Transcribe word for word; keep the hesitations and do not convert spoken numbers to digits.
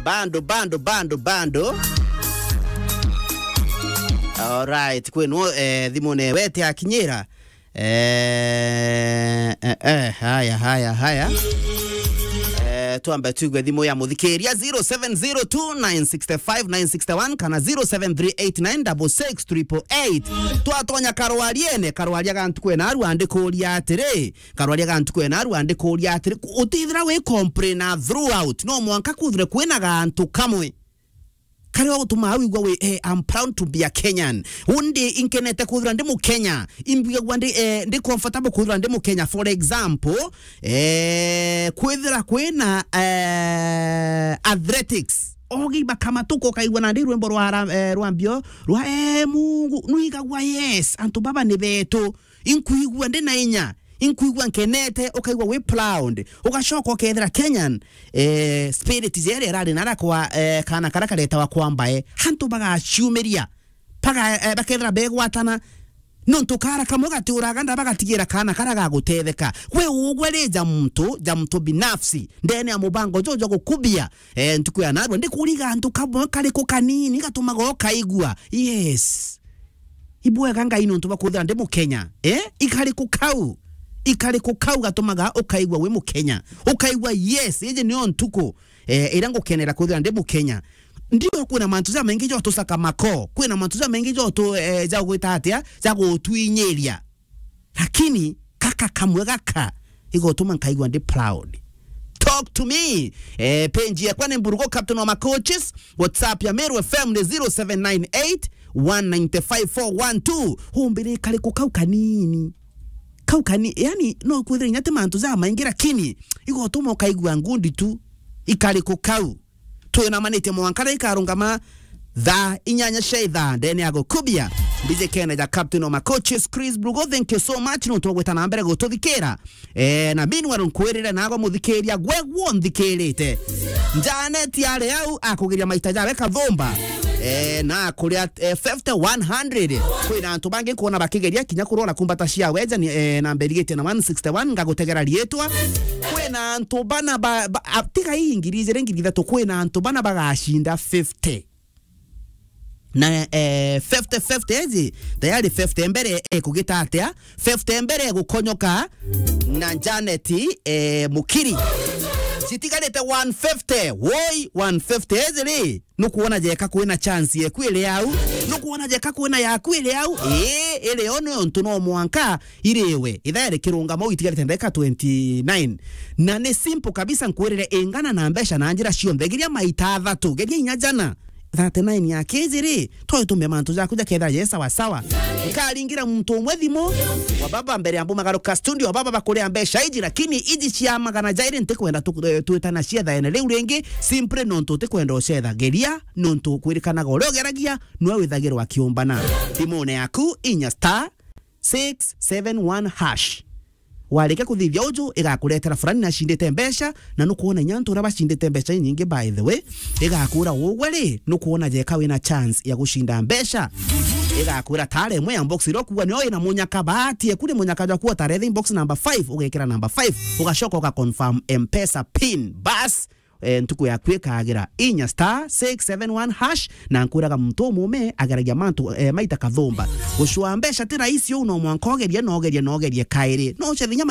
Bando, bando, bando, bando. Alright, kwenu, eh, thimu ne wete akinyira. Eh, eh, eh, haya, haya, haya. Eh, twambe tuigue thimu ya muthikiria, zero seven zero two nine six five nine six one kana zero seven three eight nine six six triple eight. Twatonya karwariene, karwaria ga ntuku ena aru andikuria atiri, karwaria ga ntuku ena aru andikuria atiri, utithira wi complainer throughout, no mwanka kuthire kwina gantu kamwe karia gutuma wigua wi, eh, I'm proud to be a Kenyan. Undi inkenete kwithira ndi Mukenya. Imbigagua ndi, eh, ndi comfortable kwithira ndi Mukenya. For example, eh, kwithira kwina, eh, athletics. Ogi bakamatuka ukaigua nandi rwimbo rwa ra-, eh, rwa mbio rwa, eh, Mungu. Nuigagua, yes, antu baba ni betu. Inkuigua ndi na inya, inkuigua nkenete, ukaigua wi proud. Ugacoka ukethira Kenyan, eh, spirit jere irari nara kwa, eh, kana kara karetawa kwa mbae. Hantu bagaciumiria, baga-, eh, bakethira begwatana. Nontu kara kamwe gatiuraga nda, bagatigira kana kara gagutetheka. We ugwe ri ja muntu, ja muntu binafsi, ndene ya mubango jo jwa gukubia, eh, ntuku ya narua, ndikuriga antu kamwe kariku kanini gatumaga ukaigua. Yes. Ibwega Ngai nontu bwa kwithira ndi Mukenya. Eh? Ikariku kau? Ikariku kau gatumaga ukaigua wi Mukenya? Ukaigua, yes, iji niyo ntuku, eh, iria ngukenera kwithira ndi Mukenya. Ndio kwina mantu jamaingi jo tusaka mako, kwina mantu jamaingi jo tu, eh, ja gwita atia, ja gutwinyiria. Lakini kaka kamwe gaka igotuma nkaigua ndi proud. Talk to me. Eh, page yakwa ni Mburugo, Captain wa Macoaches. WhatsApp ya Meru F M ni zero seven nine eight one nine five four one two. Humbire kariku kau kanini. Kau kani-, yani, no kwithira inya ti mantu jamaingi, lakini igotuma ukaigua ngundi tu. Ikariku kau? Twinamanitie mwanka riria ikarungama thaa inyanya cia ithaa ndene ya gukubia. Mbijikene ja Captain wa Macoaches, Chris Brugo, thank you so much nontu bwa gwita na mbere gututhikira. Eh, na meanwhile nkwirire nago muthikiria gwe gwo nthikirite. Janet ari au akugeria maita jawe kathumba. Eh, na akuria, eh, fifty, one hundred. Kwina antu bangi nkwona bakigeria kinya kurora kumbata cia weja ni, eh, na mberigitie na one sixty-one, ngagutegera riitwa. Kwina antu bana ba, ba, a, tiga ii ngiri ijiri, ngiri ithatu, kwina antu bana bagacinda fifty. Na, eh, fifty fifty iji, tayari fifty mbere ekugita atia? Fifty mbere egukonyoka na Janet, eh, Mukiri. Citigarite one fifty, woi, one fifty iji ri, nukwona jeka kwina chance yeku iri au, nukwona jeka kwina yaku iri au, ii, iri o nontu no mwanka iriwe. Ithaa rikirungama uu itigarite ndagika twenty-nine. Na ni simple kabisa, nkwirire ingana na mbeca na njira cionthe. Geria maita athatu, geria inya jana. Thirty-nine ya kiji ri, twaitumia mantu jaku jakethira je sawa sawa. Nkaringira muntu umwe thimu, wa baba mbere ya mbumagaruka studio, wa baba bakuria mbeca iji, lakini iji cia magana jairi ntikwenda tu-, eh, twitana ciethaene riu ringi, simply nontu utikwenda ucetha. Geria, nontu kwirikanaga uria ugeragia, nwe withagirwa akiumbana. Thimune yaku, inya star six seven one hash. Warikia kuthithia uju, igakuretera fulani nacindite mbeca, na nukwona inya antu uria bacindite mbeca inyingi, by the way, igakura ugwe ri, nukwona jeka wina chance ya gucinda mbeca. Igakwira tare imwe ya box iria ukuwa niyo ina munyaka, bahati eku ni munyaka jwaku, utaretha box number five, ugekira number five, ugacoka uga confirm M-Pesa pin. Bas, eh, ntuku yaku ikagira. Inya star six seven one hash, na nkwiraga muntu umume ageragia mantu, eh, maita kathumba. Gucua mbeca ti rahisi uu, no mwanka ugerie, na ugerie, na ugerie kairi. No ucethe inya maita